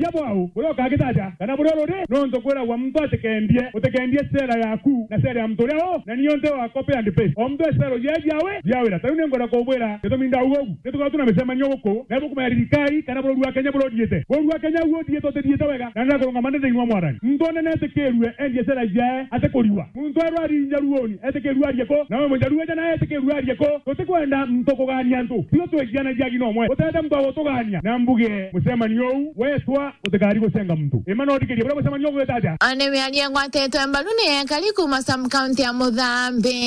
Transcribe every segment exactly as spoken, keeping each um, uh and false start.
Tia bwao, buria ukagita atia, kana buria ruri, nontu kwiragwa muntu atikendie, utikendie sera yaku na sera ya muntu uria u, na niyo nti wa copy and paste. O muntu e sera ujeji awe, jiawira. Tariu ningwenda kubwira, gitumi ndauga ugu, ni tukoragwa tuna micemanio guku, na bukumenya thirikari kana burori wa Kenya buria uthiite. Burori wa Kenya uria uthiite, utithiite wega, na ndakurungama ndi thiini wa Mwathani. Muntu onene etikirue endie sera ciae, atikuriwa. Muntu erwa ari Njaruoni, etikirue arie ku, nawe Mujaruo eja nawe etikirue arie ku. Tutikwenda muntu kugania antu. Tio twikianagia gi nomwe. Utete muntu agutugania. Na mbuge, mucemanio uu wetwa utikari gucenga muntu. Ima no thikirie buria mucemanio ugwita atia? One miario ngwatitwe mbaru ni ekari kuuma sub county ya Muthambi.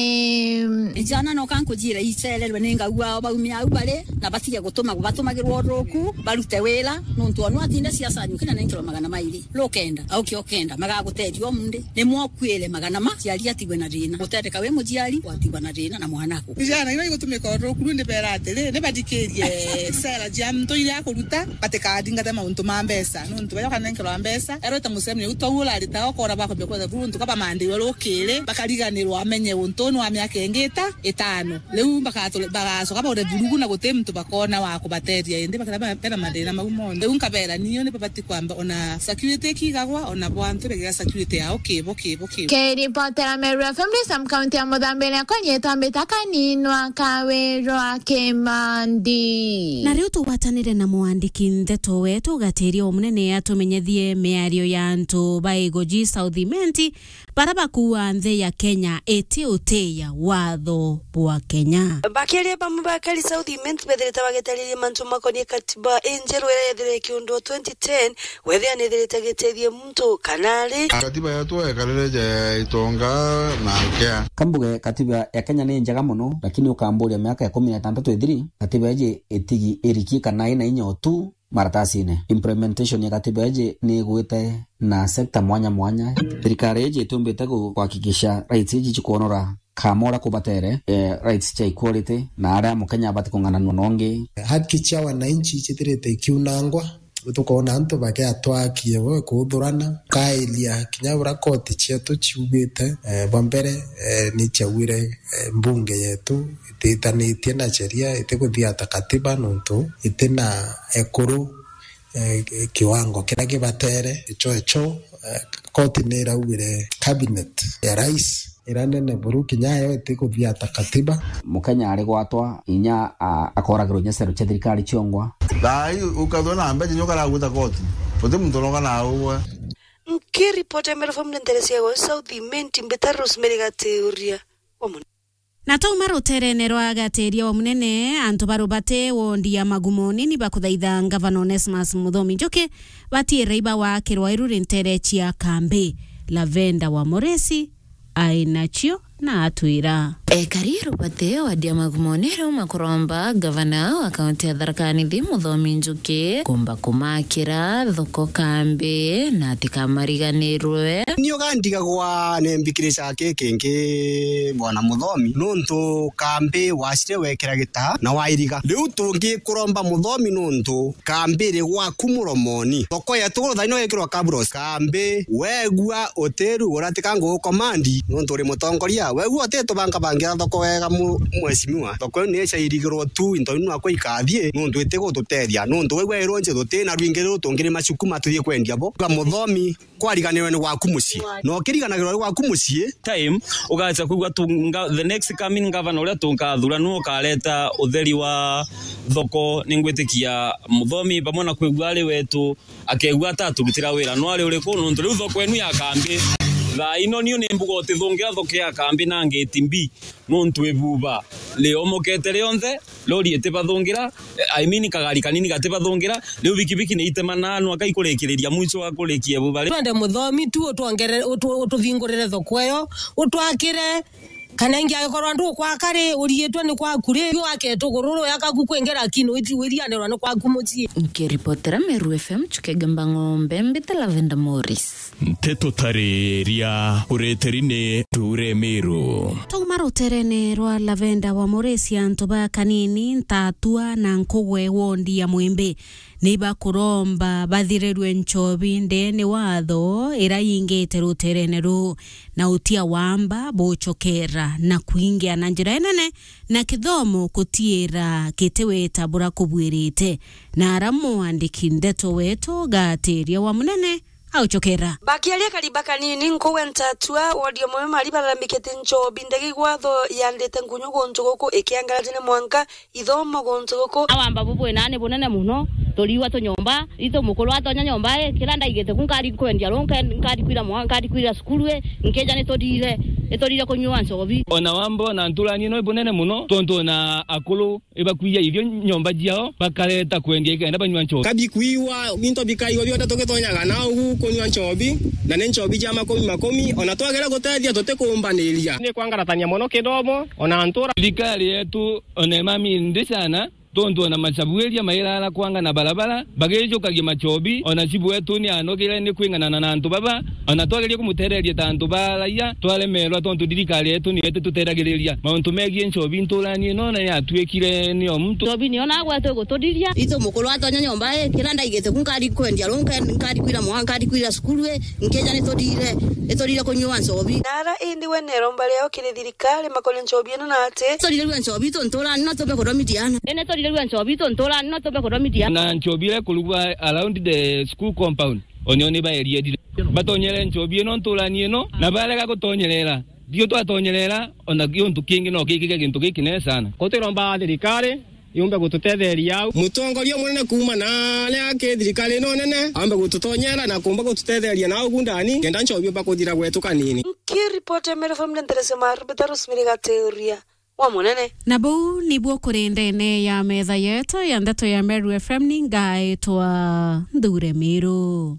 Ijana no kankujira icererwe ni ngauga o baumia au bari, na batige gutuma, batumagirwa uruku, barute wira, nontu onu atinde siasa anyukina nenkerwa magana mairi. Rukenda, auke okenda, magaguteethia umundi. Ni mwokuire magana ma, ciari atigwe na thina. Gutendeka wi muciari, watigwa na thina na mwana aku. Vijana iria igutumika uruku, riu ndibera atiri, ni bathikirie sera cia antu iria akuruta, batikathingate mauntu ma mbeca. Nontu baria ukanenkerwa mbeca, erwite mucemio, riu twau urarita, ukona bakwambia kwetha buru ntuka bamandirwe rukiri, bakariganirwa amenye untu uu ni wa miaka ingi ita itano. Riu bakatule-, bagacoka baure vurugu na guti muntu bakona wa kubateethia, indi bakira be-, bena mathina mau monthe. Riu nkabera, niyo ni babati kwamba ona security ikigagwa, ona bo antu begira security yao kibo, kibo, kibo. Kiripotera Meru F M, Sam County ya Muthambi, na konyetwa mbita Kaninwa Kawirwa Kimandi. Na riu tugwatanire na mwandiki ndeto wetu ugatiria o munene atumenyethie miario ya antu ba Igoji South Imenti, bara bakuua nthi ya Kenya iti utiia watho bwa Kenya. Bakiaria bamwe bakari South Imenti bethirite bagitariria mantu makonie katiba injeru iria yethirire ikiundwa twenty ten, wethia nithirite gitethie muntu kana ari. Katiba yetu ekarire ja itonga na nkea. Kambuge katiba ya Kenya ni njega mono, lakini ukamburia miaka ikumi na itantatu ithiri, katiba iji itigi irikie kana ina inya utu maratasine. Implementation ya katiba iji ni igwite na sector mwanya mwanya. Thirikari iji itumbite ku-, kuhakikisha rights iji cikwonora kama uria kubatere, eh, rights cia equality, na aria Mukenya abati kung'ananua na ungi. Haki cia wananchi cithirite ikiunangwa, tukoona antu bagiatwa haki yao kuuthurana, kairia kinya uria koti cietu ciugite, eh, bwa mbere, eh, ni ciaugire, eh, mbunge yetu ititanitie na sheria, itikuthiata katiba nontu itina ekuru, eh, kiwango kiria kibatere. Icho, icho, eh, koti ni iraugire cabinet ya rais iria nene buru kinya yo itikuthiata katiba. Mukenya ari gwatwa inya, a-, akoragirwa inya cero cia thirikari ciongwa. Thaa ii ukathwa na mbeca inya ukaragwita koti. Uti muntu uroga na ugwe. Nkiripoti ya Meru F M nterecia gwa South Imenti, mbita Rosemary Gatiuria wa Muni. Na twauma ruterene rwa Gatiria wa Munene, antu ba Rubate wondi ya Magumoni ni bakuthaitha Ngavana Onesmus Muthomi Njuki batiire iba wakirwa iru ri ntere cia kambi. Lavenda wa Moresi ai nacio na atwira. Ekari Rubate wadi ya Magumoni riu makuromba Ngavana wa kaunti ya Tharaka Nithi Muthomi Njuki kumba kumakira thoko kambi na atikamariganirwe. Ni ugandigagwa nembikirica ki kingi, Bwana Muthomi, nuntu kambi wacire wekira gita na wairiga. Riu tungikuromba Muthomi nuntu kambi iri gwaku Muromoni. Thoko yetu thaino yekirwa kabros. Kambi wegua utirugura tika ngugukomandi nuntu uri mutongoria. Wegua utitubangabangira thoko wega mu-, mheshimiwa. Thoko iu ni icairigirwo tu into iu nako ikathie nuntu itigututethia. Nuntu wegua irunji tutina rwingi ruru tungirima cukuma tuthie kwendia bo. Ga Muthomi, kwariganirwe ni gwaku mucii. Na ukiriganagirwa ni gwaku mucii. Time, ugacha kwigua tu nga-, the next coming governor uria tunkathura nu ukareta utheri wa thoko. Ningwitikia Muthomi, pamwe na kwigua ari wetu, akegua ata aturutira wira, no ari uriku? Nuntu riu thoko enu ya kambi, thaa ino niu ni mbuga utithungira thoko ya kambi na ngeti mbi, nuntu ibuba riomokete rionthe. Lori itibathungira, eh, I mean, kagari kanini gatibathungira. Riu bikibiki ni itemana nwa kai kurikiriria mwicho wa kurikia buba ri. Twende Muthomi tu utwongere-, utu-, ututhingurire thoko iyo, utwakire, kana ingi agikorwa ndukwaka ri, uriitwe ni kwaku ri, yu wake tugururu yakaku kwingira kinu iti wirianirwa ni kwaku mucii. Nkiripotera Meru F M, Chukegamba Ng'ombe, mbite Lavenda Morris. Nteto tariria ureteri ni Ture Meru. Twauma ruterene rwa Lavenda wa Moresi, antu ba Kanini, Ntatua na Nkugwe wondi ya Mwimbi Ni bakuromba bathirirue nchobi ndeene watho ira yingite ruteerene ruu, na utia wamba bucokera na kwingia na njira inene, na kithomo kutiira kitiweta bura kubwirite, na ara mwandiki ndeto wetu Gatiria wa Munene aucokera. Bakiaria kariba kanini, nkuwe ntatua wodi ya Mwe Mari bararambikite nchobi ndege igwatho yandite nkunyu guntu guku ikiangaratine mwanka ithomo guntu guku. Awamba bubwina ni bunene muno, turiigua tu nyomba, itu mukuru atonya nyomba i, kira ndaigite ku nkari kwendia ru, nke-, nkari kwira mwa-, nkari kwira cukuru i, nkija ni turire, ni turire kunyua nchobi. Ona wamba ona nturani ino i bunene muno, tontu ona akuru ibakwija irio nyomba ciao, bakareta kwendia ikenda banyua nchobi. Kabi kwiwa, into bikaiwa bionthe tugitonyaga na ugu kunyua nchobi, na ni nchobi cia makumi makumi, ona twagera gutethia tutikumbaniria. Ni kwangaratania mono kithomo, ona ntura. Thirikari yetu ona imami ndi sana, tontu ona macabuiria mairara kwangana barabara, bagijukagia machobi, ona chibu wetu ni anogire ni kwinganana na antu baba, ona twageria kumutereria ta antu ba raia, twaremerwa tontu thirikari yetu niyo itituteragiriria. Mauntu megie nchobi nturani ino na yatuikire ni o muntu. Nchobi niyo nagwe twiguturiria. Itu mukuru atonya nyomba i, kira ndaigite ku nkari kwendia ru, nke-, nkari kwira mwa-, nkari kwira cukuru i, nkija ni turire, ni turire kunyua nchobi. Nara indi we neromba riao kiri thirikari makoria nchobi ino na ati. Turirirue nchobi itu nturani no tumbe kuthomithia ana. Indi turirirue nchobi itu nturani no tumbe kuthomithia. Na nchobi iria ikurugwa around the school compound, onio ni baeriedire. Batonyere nchobi ino nturani ino, na barega gutonyerera. Dio twatonyerera, ona giuntu kingi no gikike gintu gikinene sana. Ko twiromba thirikari yumbe gututetheria au. Mutongoria munene kuuma na aria aki thirikari ino nene, ambe gututonyera na kumba gututetheria na ugu ndani, kenda nchobi umba kuthira gwetu kanini. Nkiripoti ya Meru F M ni Nteresi Marubita Rosemary Gatiria wa Munene. Na buu nibuo kuri ndene ya metha yetu ya ndeto ya Meru F M, ni ngaitwa Nthure Miru.